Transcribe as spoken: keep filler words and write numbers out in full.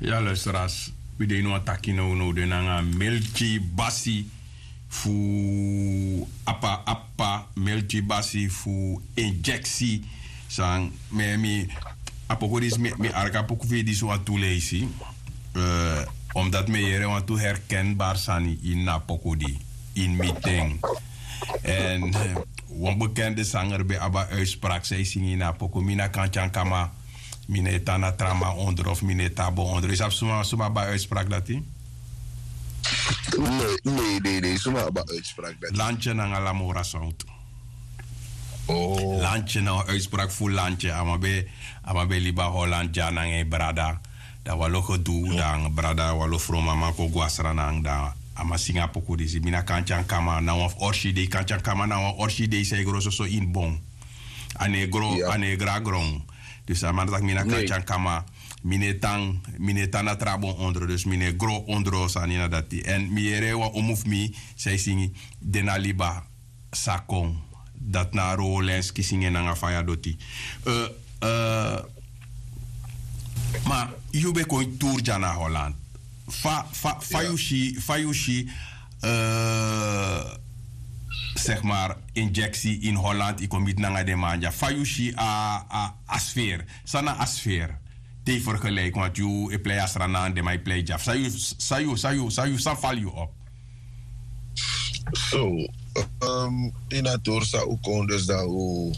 Ya luisteras, wi de ini wan taki now now de nanga melki basi fu apa apa melki basi fu injeksi. San mi mi a poku disi mi arki a poku fu yu disi wantu leisi. Omdati mi e yere wantu herkenbari sani ini a poku di ini mi ten. Èn wan bekende sanger ben abi a uitspraki san e singi ini a poku mi na kantyankama. Mi no e tan na tra man ondro fu mi no e tan a bon ondro yu sabi suma suma abi a uitspraki dati? Nei nei nei suma abi a uitspraki dati? Lantye nanga lamora sautu. Lantye na wan uitspraki fu lantye a man ben a man ben libi a holand dya nanga en brada. Dan walo gedu dan brada walo fromaman kon go a sranang dan a man singi a poku disi mi na kantyankama na wan fu orsi dei kantyankama na wan orsi dei san e gro soso ini bon. A no e gro a no e gro a gron. Dus a man taki mi na kantyankama. Mi no e tan mi no e tan na tra bon ondro dus mi no e gro ondro sani na dati èn mi yere wan omu fu mi san e singi. Den na liba sa kon. Dati na a row lens kisinge nanga faya doti. Ma yu ben kon ini tour dya na holland. Fa fa fa yu si fa yu si segmar injeksi ini holland yu kon miti nanga den man dya fa yu si a a sfer? San na a sfer? Te yu fergeleiki wantu yu e plei a sranan den man e plei dya san yu san yu san yu san fali yu op? So ini a tour san un kon dus dan un